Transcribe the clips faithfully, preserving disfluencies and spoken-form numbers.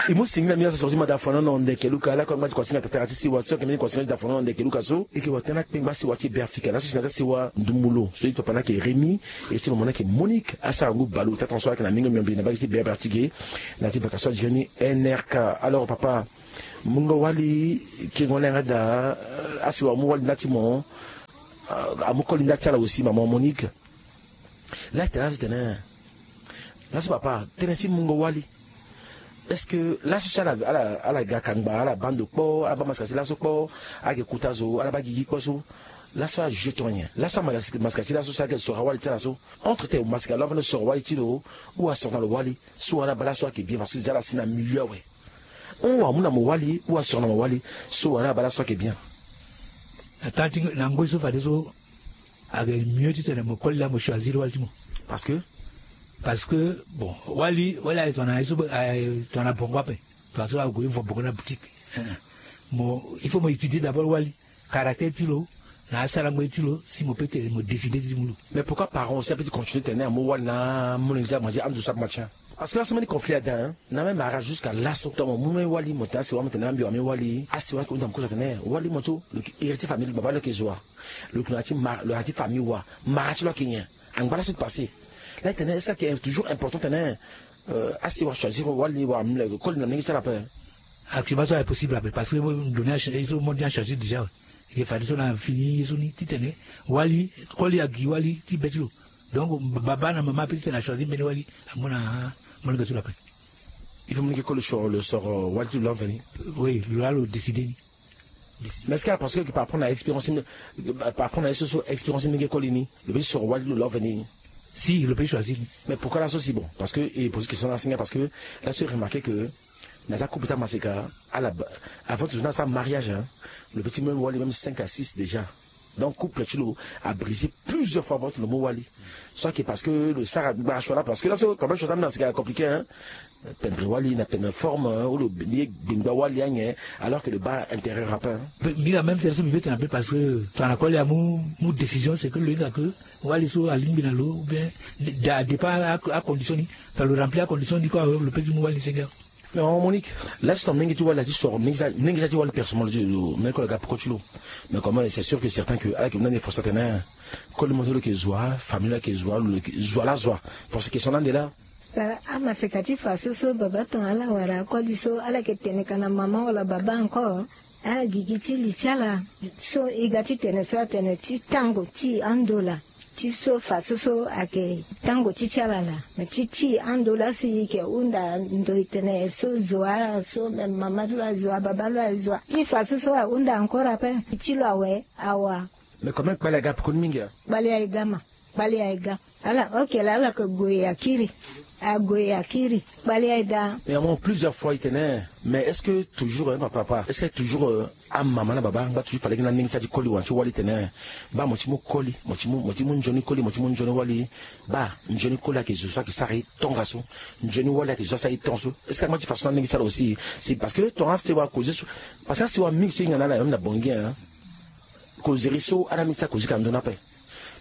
E mu singila mbi laso soro ti mada fono na ndeke luka ala kue angba ti kuasinga tatara ti siwa so ayeke mbeni kuasinga ti da fono na ndeke luka so e yeke wa tënë akpengba siwa ti e be afrika laso si na ti asiwa ndumulu so e to pana ayeke remi. E si mo mona ayeke monique asara ngu baleota tonso ayeke na mingo miombi na mbage ti be abertige na ya ti bakaso adire ni. Nrk. Alors papa, mungo wali kengo ala yanga daa. Asiwa amu wali nda ti mo. Amu koli nda ti ala aussi maman monique. Laa e tene laso tene laso papa tënë ti mungo wali. Est ce que laso ti ala ala ala ga kangba ala bando kpo ala baa masika ti laso kpo. Ala yeke kuta zo ala baa gigi kpo so. Laso ajuge tongana nyen laso amasika ti laso si ala yeke soro awali ti ala so. Entre te masika lo afande soro awali ti lo ou asoro na lo wali. So wala baa laso ayeke bien parce que déjà ala si na milieu awe. Hon amu na mo wali ou asoro na mo wali. So wala baa laso ayeke bien. Atanti na ngoi so fadeso ayeke mieux titene mo koli laa mo choisir wali ti mo. Parce que parce que bon wali wali aye tongana ye so aye tongana bongo ape. Tongana so ague vo bongo na boutique. Mo il faut mo étudier d'abord wali caractère ti lo na asarango ye ti lo si mo pe tene mo décider ti mu lo. Mais pourquoi parent aussi ape ti continuer tene amu wali na amolenge ti amanzi ando so ape matien? Parce que laso mbeni conflit ada na même ara jusqu'à laso tongo mo mu mbeni wali mo tene asiwa mo tene ambi wa mbeni wali asiwa ayeke hunda mo kozo atene wali mo so lo yeke héritier famille lo baba lo yeke zo wa. Lo yeke na ya ti mara lo na ya ti famille wa mara ti lo ayeke nyen? Angba laso ti passé. Laa e tene est ce que ayeke toujours important tene asiwa choisir wali wala koli na ndenge ti ala ape? Actuellement so aye possible ape parce que ndo ni aye so monde ni achange déjà. Ye fadeso na fini ye so ni titene wali koli agi wali ti be ti lo. Donc baba na mama ape titene achoisir mbeni wali amu na molenge ti lo ape. Il faut molenge koli soro lo soro wali ti lo laa mveni. Oui lo laa lo décider ni. Mais est ce que parce que par rapport na expérience par rapport na ye so so expérience ni nge koli ni lo pe ti soro wali ti lo laa mveni? Si lo pe ti choisir ni. Mais pourquoi laso si bon parce que e pose question na asinga parce que laso e remarquer que na ya ti akouple ti amaseka ala avant ti zo ni asara mariage lo pe ti même wali même cinq à six déjà. Donc couple ti lo abrisé plusieurs fois avant ti lo mu wali. Soit ke parce que lo sara gbara choix la parce que laso quand même choix ti ambeni asika compliqué hein. Pendre wali na pendre forme ou lo ye gbengba wali anyen. Alors que lo baa intérêt rapin. Mbi la même tene so mbi ve tene ape parce que tongana koli amu mu décision c'est que lo hinga que wali so alingbi na lo ou bien da départ acondition ni. Tongana lo remplir acondition ni kue awe lo pe ti mu wali ni senge awe. Mais maman Monique, laso ton mingi ti wali la ti soro mingi sa ti wali personnellement ti lo meko la ga poko ti lo. Mais comment c'est sûr que certain que ala yeke mu na ni force atene koli mo so lo yeke zo wa famille lo yeke zo wa lo yeke zo wa la zo wa. Force question lande la. Amaseka ti fa so so baba ton ala wara koli so ala yeke tene ka na mama wala baba encore. Agigi ti li ti ala so e ga ti tene so atene ti tango ti ando la. Ti so fa so so ayeke tango ti ti ala la. Me ti ti ando la si e yeke hunda ndo e tene so zo wa so me mama ti lo azo wa baba ti lo azo wa ti fa so so ahunda encore ape. Ti lo awe awa. Me comment kpale aga pekoni mingi a? Kpale aye ga ma. Kpale aye ga. Ala ok la ala yeke gue akiri. Ague akiri. Kpale aye ga. Mais à un moment plusieurs fois e tene mais est ce que toujours hein papa papa est ce que toujours amama na baba angba toujours fade gi na ndenge ti a ti koli wala ti wali tene baa mo ti mu koli mo ti mu mo ti mu nzoni koli mo ti mu nzoni wali. Baa nzoni koli ayeke zo so ayeke sara e tongaso. Nzoni wali ayeke zo so asara e tongaso. Est ce que angba ti façon na ndenge ti ala aussi? Si parce que tonga ase wa koze so parce que ase wa mingi so e hinga na ala même na bongi hein. Kozeri so ala mingi ti akoze ka ndoni ape.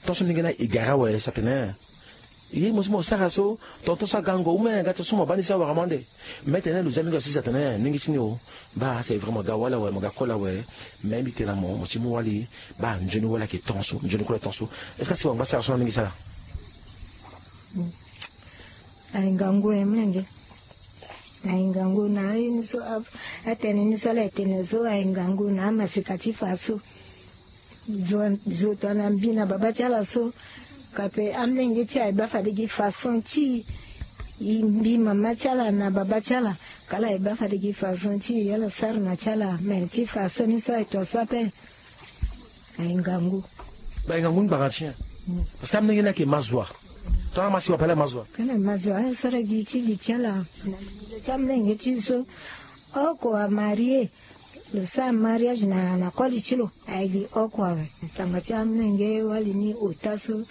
Tonso ndenge ni e gara awe si atene ye mo so mo sara so. Tonton so agango ou me aga tonso mo baa ni so awara mo ande. Me tene lo zia mingi asisi atene ndenge ti ni o. Baa c'est vrai mo ga wali awe mo ga koli awe. Me mbi tene na mo mo ti mu wali. Baa nzoni wali ayeke tonso nzoni koli tonso. Est ce que asi wangba sara so na ndenge ti ala? Aye ngangu e mlenge. Aye ngangu na aye ni so atene ni so ala etene so aye ngangu na amaseka ti fa so. Zo tongana mbi na baba ti ala so. Kape amlenge ti aye baa fade gi façon ti e mbi mama ti ala na baba ti ala. Kala aye baa fade gi façon ti e ala sara na ti ala me ti façon ni so aye ton so ape. Aye ngangu. Ba aye ngangu ni gbara ti nyen? Parce que amlenge ni ayeke ma zo wa. Tongana ma si wa pale ma zo wa. Kala ma zo wa asara gi ti li ti ala. Na li ti amlenge ti so. Oko amarie. Lo sara mariage na na koli ti lo. Aye gi oko awe. Tanga ti amlenge wali ni ota so.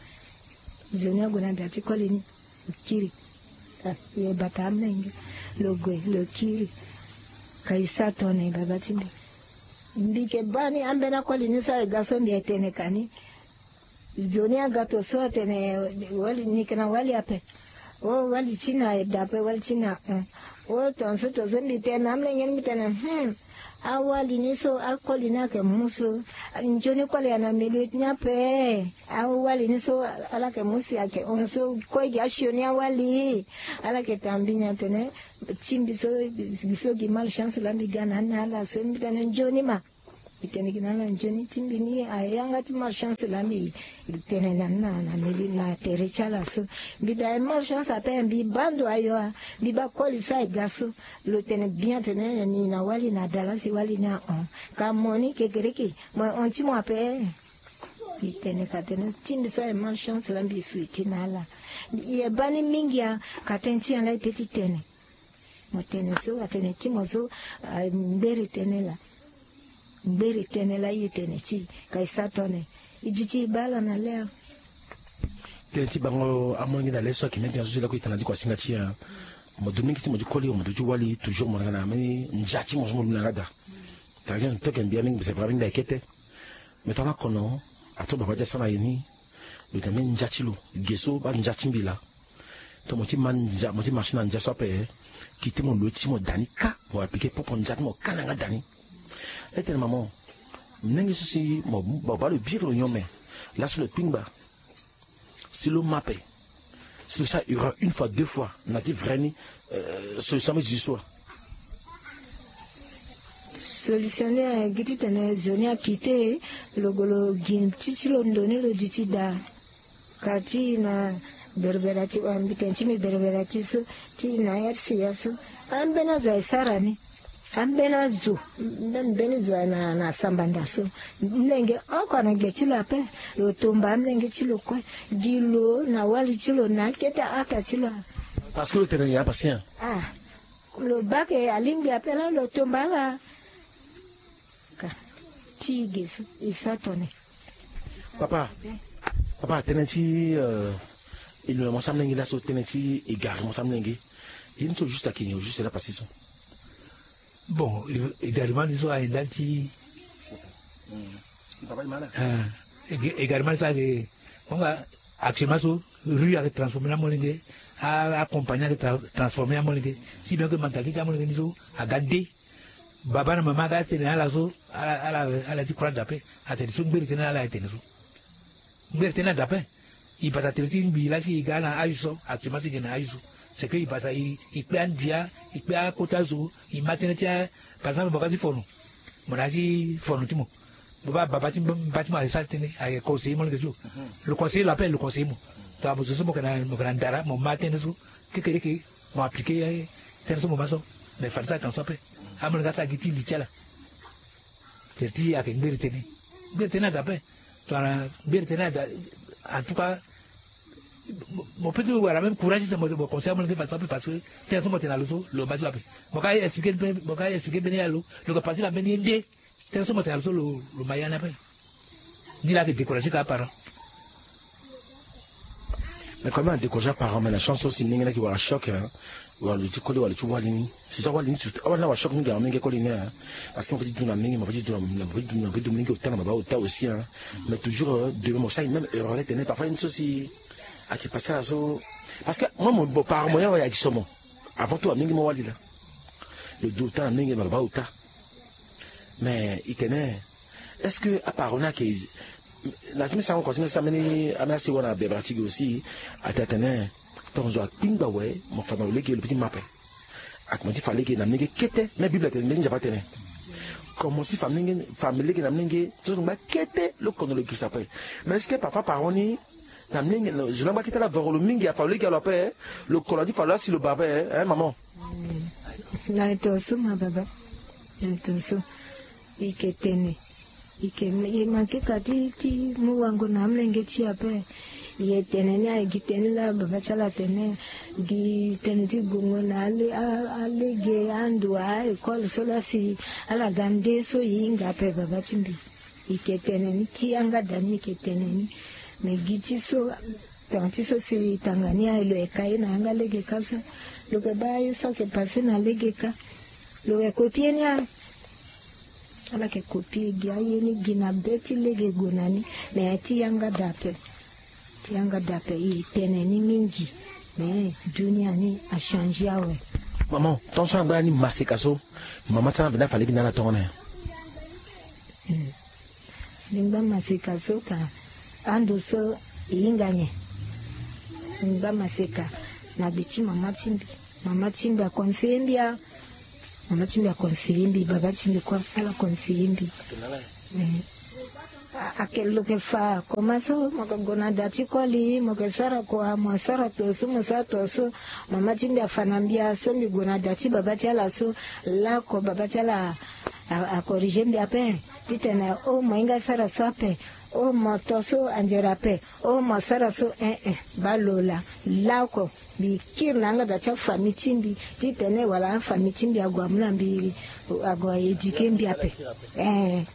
Zo ni ague na da ti koli ni. Lo kiri. Lo bata amlenge. Lo gue lo kiri. Ka e sa tongana e baba ti mbi. Mbi yeke baa ni ambeni akoli ni so aye ga so mbi aye tene ka ni. Zo ni aga to so atene wali ni yeke na wali ape. O wali ti na aye da ape wali ti na hon. O tongaso tongaso mbi tene na amolenge ni, mbi tene hmm, awali ni so akoli ni ayeke mu so. Nzoni koli ayeke na milieu ti ni ape. Awali ni so ala yeke mu si ayeke hon so kue gi asioni awali. Ala yeke tanga mbi ni atene ti mbi so, gi so gi malchance laa mbi ga na ni na ala so mbi tene nzoni ma. Mbi tene gi na ala nzoni ti mbi ni ayanga ti malchance laa mbi tene na ni na, na mbi na tere ti ala so. Mbi da aye malchance ape mbi baa ndo ayo a. Mbi baa koli so aye ga so. Lo tene bien atene ni na wali na da laa si wali ni ahon. Ka mo ni kekereke mo ye hon ti mo ape. Mbi tene ka tene ti mbi so aye malchance laa mbi sui ti na ala. Mbi ye baa ni mingi a. Ka tënë ti nyen laa e peut ti tene. Mo tene so atene ti mo so. Ngbere tënë laa. Ngbere tënë laa e tene ti e ka e sara tone. E duti e baa ala na le a. Tënë ti bango amolenge na le so ayeke mê ti na so ti lakue e tana ti kuasinga ti e. Mo duti mingi ti mo ti koli mo duti ti wali toujours mo na nga na mbeni ndia ti mo so mo duti na nga daa. Tara ti tokua mbi ya mingi mbi sara mbi mbi ayeke kete. Me tongana kono ato baba ti asara na ye ni. Lo yeke na mbeni ndia ti lo ge so baa ndia ti mbi laa. Tongana mo ti ma ndia mo ti marché na ndia so ape. Kite mo lo ti mo da ni kâ. Mo appliquer propre ndia ti mo kâ na yanga da ni. E tene mama. Molenge so si mo baa lo biri lo nyon me. Laso lo kpingba. Si lo ma ape. Si lo sara erreur une fois deux fois na ti vrai ni. Solution ambeni zo so wa. Solution ni ayeke gi titene zo ni akite. Lo gue lo gi ti ti lo ndo ni lo duti daa. Ka ti na berbera ti wa mbi tene ti mbi berbera ti so. Ti na R C A so. Ambeni azo aye sara ni. Ambeni azo. Mbeni zo aye na samba nda so. Mlenge oko na ge ti lo ape. Lo tomba amlenge ti lo kue. Gi lo na wali ti lo na akete ata ti lo. Parce que lo tene ya patient. Ah. Lo baa ke alingbi ape laa lo tomba ala. Ka ti e ge so e sara tone. Papa. Papa tënë ti e lo na mo ti amolenge laso tënë ti e gari mo ti amolenge. Ye ni so juste ayeke nyen juste laa pasi so. Bon. E gari mo ni so aye ndali ti e gari mo ni so ayeke mo nga. Actuellement so rue ayeke transformer ni amolenge. Akompagnie ayeke transformer ni amolenge. Si bien ke mentalité ti amolenge ni so aga nde. Baba na mama aga tene na ala so ala ti kura dape. Atene so ngbere tene na ala aye tene so. Ngbere tene na dape. E bata tere ti mbi lasi e ga na ayu so actuellement si e ga na ayu so. C'est que e bata e kpe andia e kpe akota zo. E ma tënë ti a par exemple mo ga ti fono. Mo na ya ti fono ti mo. Mo baa baba ti mba ti mo aye sara tënë aye conseiller mo lege ti lo. Lo conseiller lo ape lo conseiller mo. Tongana mo zo so mo yeke na ndara mo ma tënë so. Kekereke mo appliquer tënë so mo ma so. Mais fade so ayeke na so ape. Amolenge asara gi ti li ti ala. Tere ti ayeke ngbere tene. Ngbere tene ada ape. Tongana ngbere tene ada. En tout cas mo pe ti wara même courage ti mo conseil amolenge façon ape parce que tene so mo tene na lo so lo ma ti lo ape. Mo ka expliquer mbeni ya lo lo ke pase na mbeni ye nde. Tene so mo tene na lo so lo ma ya ni ape. Ni la ayeke décourager ka aparent. Mais quand même a décourager aparent mais na chance so si ndenge ni ayeke wara choc. Wala lo ti koli wala lo ti wali ni. Surtout awali ni surtout awali ni awara choc mingi awa mingi akoli ni. Parce que mo pe ti du na mingi mo pe ti du na mingi ota na baba ota aussi. Mais toujours demain mo sara même erreur tene parfois ye ni so si ayeke pase na so. Parce que moi mo parent mo ya wala ayeke so mo. Avant tout amingi mo wali laa. Lo du ota na mingi na baba ota. Mais e tene est-ce que aparent ni ayeke na ti mbi sango kua ti mbi so ambeni ambeni asi wara na bebara ti gi aussi. Ate atene tongaso akpingba awe mo fa na lo lege lo pe ti ma ape. Akomanse ti fa lege na mlenge kete même bible atene mbeni nzapa atene. Komanse ti fa mlenge fa mlenge na mlenge so lo ngba kete lo kono lo girisa ape. Mais est-ce que papa parent ni na mlenge zo ni angba kete ala voro lo mingi afa lo lege alo ape. Lo kono ti fa lo asi lo ba ape. Hein maman. Na e tongaso ma baba. Na e tongaso. E yeke tene. E yeke e manke ka ti ti mu wango na amolenge ti e ape. E tene ni aye gi tene laa baba ti ala atene. Gi tene ti gongo na alege ando a-école so laa si ala ga nde so e hinga ape baba ti mbi. E yeke tene ni ti yanga da ni e yeke tene ni. Me gi ti so tongana ti so si e tanga ni aye lo yeke ka ye na yanga lege ka so. Lo yeke baa aye so ayeke pase na lege ka. Lo yeke kopie ni a. Ala yeke kopie gi aye ni gi na be ti lege gue na ni. Me ti yanga da ape. Ti yanga da ape e tene ni mingi. Me dunia ni achangé awe. Maman, tongaso na ngba ni maseka so mama ti ala mbi na fa lege na ala tongana nyen? Lingba maseka so ka ando so e hinga nyen? Lingba maseka na gbe ti mama ti mbi. Mama ti mbi aconseiller mbi a mama ti mbi aconseiller mbi, baba ti mbi kue ala conseiller mbi. Ake lo ke fa koma so mo ke gue na da ti koli mo ke sara kua mo sara to so mo sara to so. Mama ti mbi afa na mbi a so mbi gue na da ti baba ti ala so. Lako baba ti ala acorriger mbi ape titene o mo hinga sara so ape. O mo to so anzere ape. O mo sara so eh eh. Baa lo laa lako mbi kiri na yanga da ti afamille ti mbi titene wala afamille ti mbi ague amu na mbi ague a éduquer mbi ape. Eh.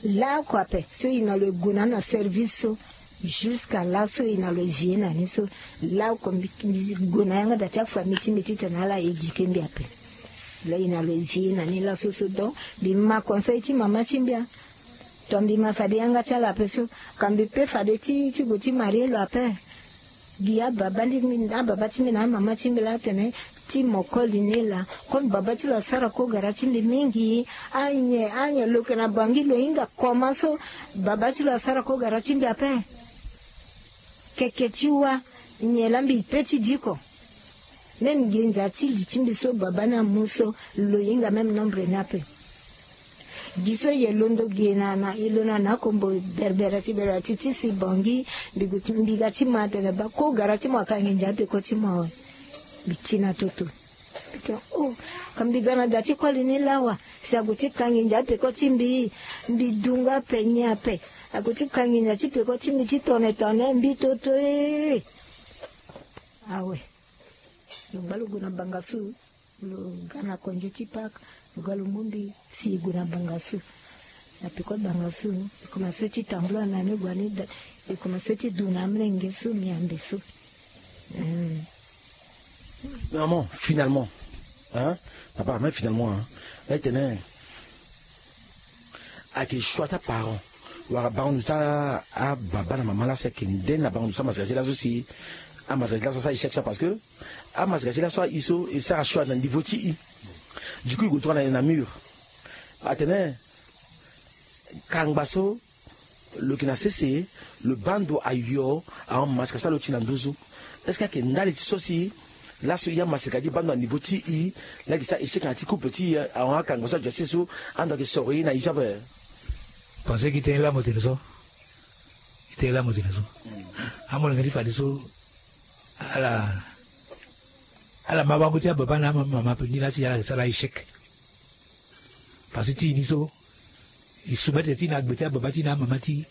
Laoko ape so e na lo e gue na ni na service so. Jusqu'à laso e na lo e vie na ni so. Laoko mbi gue na yanga da ti afamille ti mbi titene ala éduquer mbi ape. Laa e na lo e vie na ni laso so donc mbi ma conseil ti mama ti mbi a. To mbi ma fade yanga ti ala ape so. Ka mbi pe fade ti ti gue ti marie lo ape. Gi ababa ti mbi na amama ti mbi laa atene ti mo koli ni laa. Comme baba ti lo asara kogara ti mbi mingi. Anyen anyen lo yeke na bangi lo hinga koma so. Baba ti lo asara kogara ti mbi ape. Keke ti wa nyen laa mbi pe ti diko. Même nginza ti li ti mbi so baba ni amu so lo hinga même nombre ni ape. Gi so ye londo gi na na e lo na na kombo berbera ti berbera ti ti si bongi. Mbi gu ti mbi ga ti ma atene ba ko gara ti mo akangi ndia peko ti mo awe. Mbi ti na toto. Mbi tene o ka mbi ga na da ti koli ni lawa. Si agu ti kangi ndia peko ti mbi. Mbi dunga ape nyen ape. Agu ti kangi ndia ti peko ti mbi ti tone tone mbi toto ee. Awe. Lo gba lo gue na banga so. Lo ga na konze ti pake. Lo ga lo mu mbi si e gue na banga so. Na peko banga so e komanse ti tambula na ni gue ani da. E komanse ti du na amolenge so miambe so. Maman, finalement hein, papa mais finalement hein, la tene ayeke choix ti aparent. Wala bango ndo ti ababa na mama laa si ayeke nde na bango ndo ti amasika ti laso si amasika ti laso asara échec so parce que amasika ti laso aye so e sara choix na niveau ti i. Du coup e gue tongana na mur atene kangba so lo yeke na sese lo baa ndo ayo ahon masika so alo ti na nduzu. Est-ce que ayeke ndali ti so si laso ya masika ti baa ndo na niveau ti i? Laa yeke sara échec na ti couple ti i ahon akangba so adio asese so ando ayeke soro ye na i ti ape. Pensé ki tënë laa mo tene so. Ki tënë laa mo tene so. Amolenge ti fadeso ala ala ma bango ti ababa na amama pe ni laa ti ala sara échec. Parce que ti i ni so e soumettre ti na gbe ti ababa ti na amama ti i.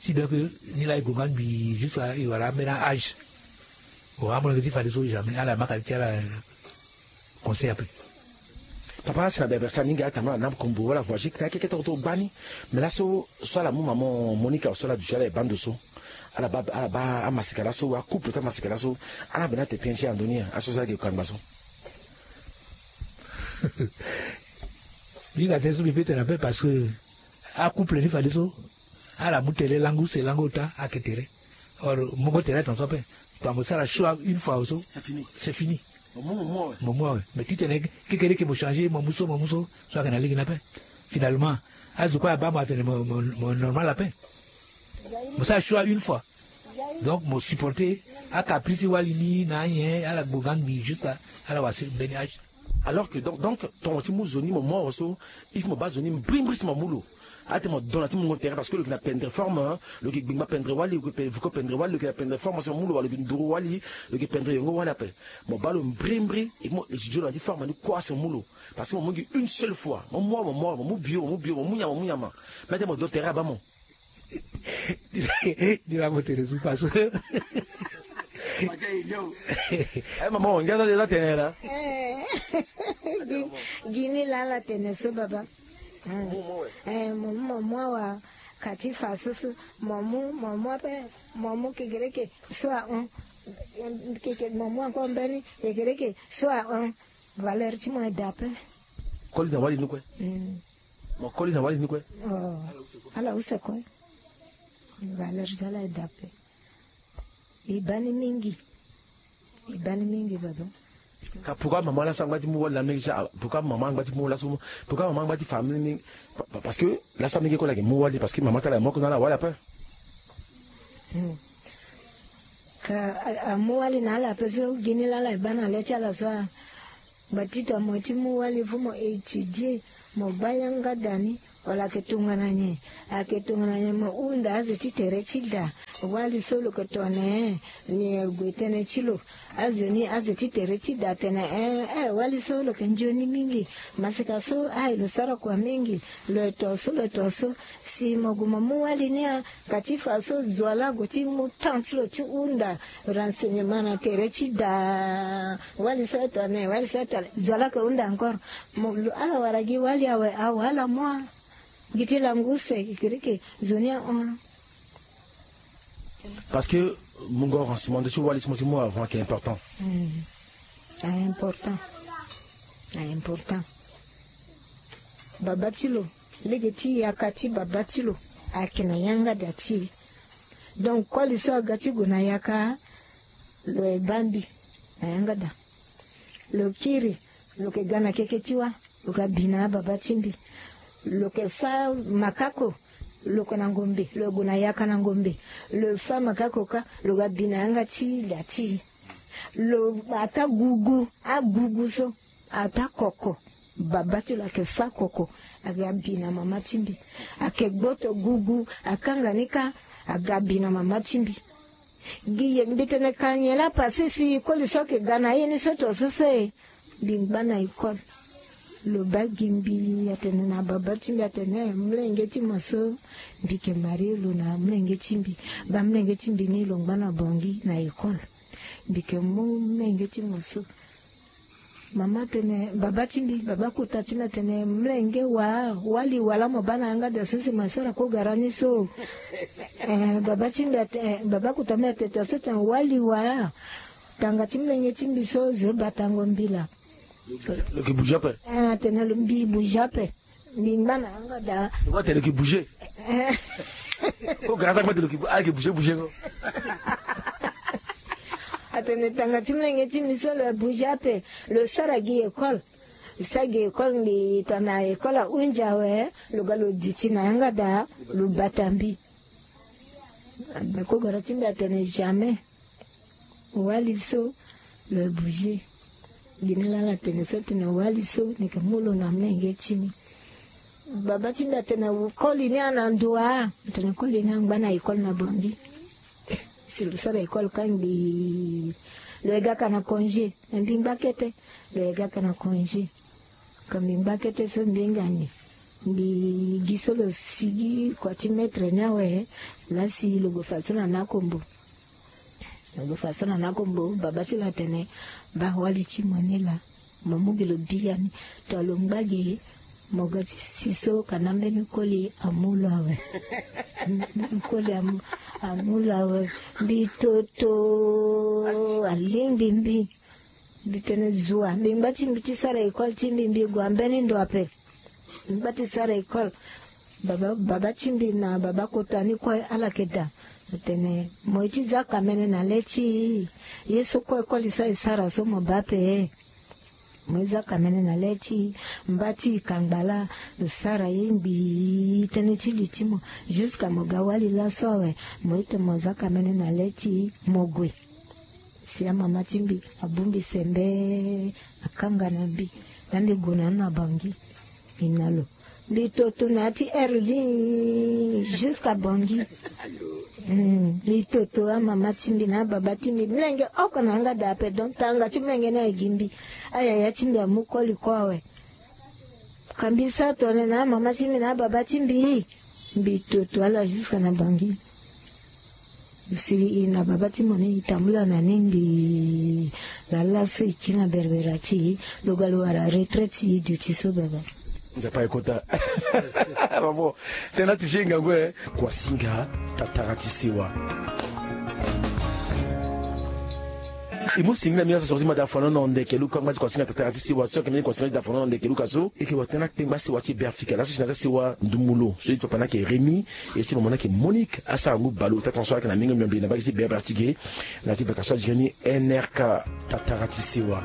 Si donc ni laa e gonga ngbii jusqu'à e wara ambeni âge. Bon amolenge ti fadeso jamais ala maka ti ala conseil ape. Papa asi na berbere ti ala ni ngia atambula na kombo wala voyage na keke toko toko gbani. Mais laso so ala mu maman Monica so ala duti ala e baa ndo so ala baa ala baa amasika laso wa couple ti amasika laso. Ala bena tete ti ando ni aso so ala yeke kangba so. Mbi hinga tënë so mbi peut tene ape parce que acouple ni fadeso ala mu tere lango use lango ota ayeke tere. Or mo ngo tere tongaso ape. Tongana mo sara choix une fois oso c'est fini. Mo mu awe mais titene kekereke mo changer mo mu so mo mu so so ayeke na lege ni ape. Finalement azo kue abaa mo atene mo normal ape. Mo sara choix une fois. Donc mo supporter acaprice ti wali ni na anyen ala gbo ga ngbii juste ala wara mbeni âge. Alors que donc donc tongo ti mu zo ni mo mu awe so il faut mo baa zo ni mbrimbri si mo mu lo. Ate mo dona ti mungo tere parce que lo yeke na pendre forme lo yeke gbingba pendre wali lo yeke vuko pendre wali lo yeke na pendre forme si mo mu lo wala lo yeke nduru wali lo yeke pendre yongo wali ape. Mo baa lo mbrimbri et mo étudier lo na ti forme ni kua si mo mu lo. Parce que mo mu gi une seule fois mo mu awe mo mu awe mo mu bio mo mu bio mo mu nyama mo mu nyama. Mais ate mo do tere abaa mo. Ni la mo tene so paso. Mama o ngia so eza tene la. Gi ni la ala tene so baba. Mo mu mo mu awa ka ti fa so so. Mo mu mo mu ape mo mu kekereke so ahon. Mo mu encore mbeni kekereke so ahon. Valeur ti mo eda ape. Koli na wali ni kue. Mo koli na wali ni kue. Ala use kue. Valeur ti ala eda ape. E baa ni mingi. E baa ni mingi baba. Ka pourquoi maman laso angba ti mu wali na mingi sa? Pourquoi maman angba ti mu laso? Pourquoi maman angba ti fa mingi? Parce que laso mingi ko lage mu wali parce que maman tala moko na la wali ape. Ka amu wali na ala ape so gini lala e baa na le ti ala so a? Batita mo ti mu wali fu mo étudier, mo baa yanga da ni. Wala ayeke tongana nyen? Ayeke tongana nyen? Mo hunda azo ti tere ti da. Wali so lo yeke tongana nyen? Ni gue tënë ti lo. Azo ni azo ti tere ti da atene eh eh wali so lo yeke nzoni mingi. Masika so aye lo sara kua mingi. Lo eto so lo eto so. Si mo gue mo mu wali ni a? Ka ti fa so zo ala gue ti mu temps ti lo ti hunda renseignement na tere ti da. Wali so eto ane wali so eto ane zo ala yeke hunda encore. Mo lo ala wara gi wali awe awe ala mu a? Gi ti langu use kiriki zo ni ahon. Parce que mungo renseignement ti wali ti mo ti mu avant ayeke important. A important. A important. Baba ti lo lege ti yaka ti baba ti lo ayeke na yanga da ti e. Donc koli so aga ti gue na yaka lo e baa mbi na yanga da. Lo kiri lo yeke ga na keke ti wa. Lo ga bi na ababa ti mbi. Lo yeke fâ makako. Lo yeke na ngombe lo gue na yaka na ngombe. Lo fâ makako kâ. Lo ga bi na yanga ti da ti e. Lo ataa gugu agugu so ataa koko. Baba ti lo ayeke fâ koko. Aga bi na mama ti mbi. Ayeke gboto gugu akanga ni kâ. Aga bi na mama ti mbi. Gi ye mbi tene ka nyen laa pase si koli so ayeke ga na ye ni so to so so e. Mbi ngba na école. Lo baa gi mbi atene na baba ti mbi atene eh molenge ti mo so. Mbi yeke marie lo na molenge ti mbi. Baa molenge ti mbi ni lo ngba na bongi na école. Mbi yeke mu molenge ti mo so. Mama atene baba ti mbi baba kota ti mbi atene molenge wa wali wa laa mo baa na yanga da so si mo sara kogara ni so. Eh, baba ti mbi atene eh, baba kota mbi atene to so tene wali wa. Tanga ti molenge ti mbi so zo batango mbila. Lo yeke bouge ape. Eh, atene lo mbi bouge ape. Mbi ngba na yanga da. Lo kue atene lo yeke bouge. Kogara so akpe atene lo yeke bouge bouge ko. Atene tanga ti molenge ti mbi so lo bouge ape. Lo sara gi école. Lo sara gi école mbi tana école ahunzi awe. Lo ga lo duti na yanga da. Lo bata mbi. Kogara ti mbi atene jamais. Wali so lo bouge. Gi ni lala atene so atene wali so ni yeke mu lo na molenge ti ni. Baba ti mbi atene koli ni ana ndo wa? Atene koli ni angba na école na bongi. Si lo sara école kâ ngbii. Lo ye ga ka na congé. Na mbi ngba kete. Lo ye ga ka na congé. Ka mbi ngba kete so mbi hinga ni. Mbi gi so lo sigi kua ti maître ni awe. Laa si lo gue fa so na nakombo. Lo gue fa so na nakombo baba ti lo atene baa wali ti mo ni laa. Mo mu gi lo biani. To lo ngba gi. Mo ga ti si so ka na mbeni koli amu lo awe. Koli amu lo awe. Mbi toto. Alingbi mbi. Mbi tene zua mbi ngba ti mbi ti sara école ti mbi mbi gue ambeni ndo ape. Mbi ngba ti sara école. Baba ti mbi na baba kota ni kue ala yeke daa. Atene mo ye ti za kamene na le ti e. Ye so kue koli so aye sara so mo baa ape. Mo ye za kamene na le ti e. Mba ti e kangba laa. Lo sara ye ngbii tënë ti li ti mo. Jusqu'à mo ga wali laso awe. Mo ye tene mo za kamene na le ti e mo gue. Si amama ti mbi abongbi sembe. Akanga na mbi. Na mbi gue na ni na bangi. E na lo. Mbi toto na ya ti heure ni. Jusqu'à bangi. Mbi toto amama ti mbi na ababa ti mbi molenge oko na yanga daa ape donc tanga ti molenge ni aye gi mbi. Ayaya ti mbi amu koli kue awe. Ka mbi sara tongana na amama ti mbi na ababa ti mbi. Mbi toto ala jusqu'à na bangi. Sili e na baba ti mo ni e tambula na ni ngbii. Laa laso e kiri na berbera ti e. Lo ga lo wara retraite ti e duti so baba. Nzapa e kota. Bravo. Tena touche ngangu e. Kua singa tatara ti sewa. E mu singila mingi na so so ti mada fano na ndeke luka ngba ti kuasinga tatara ti sewa so yeke mbeni kuasinga ti da fano na ndeke luka so. E yeke watene akpengba sewa ti be afrika laso si na za sewa ndumulo so ti papa na yeke remi. E si mama na yeke monique asara ngu balo tatan so ayeke na mingi miombe na bage ti be afrika ti ge. Na ya ti vaka so adi gani nrk tatara ti sewa.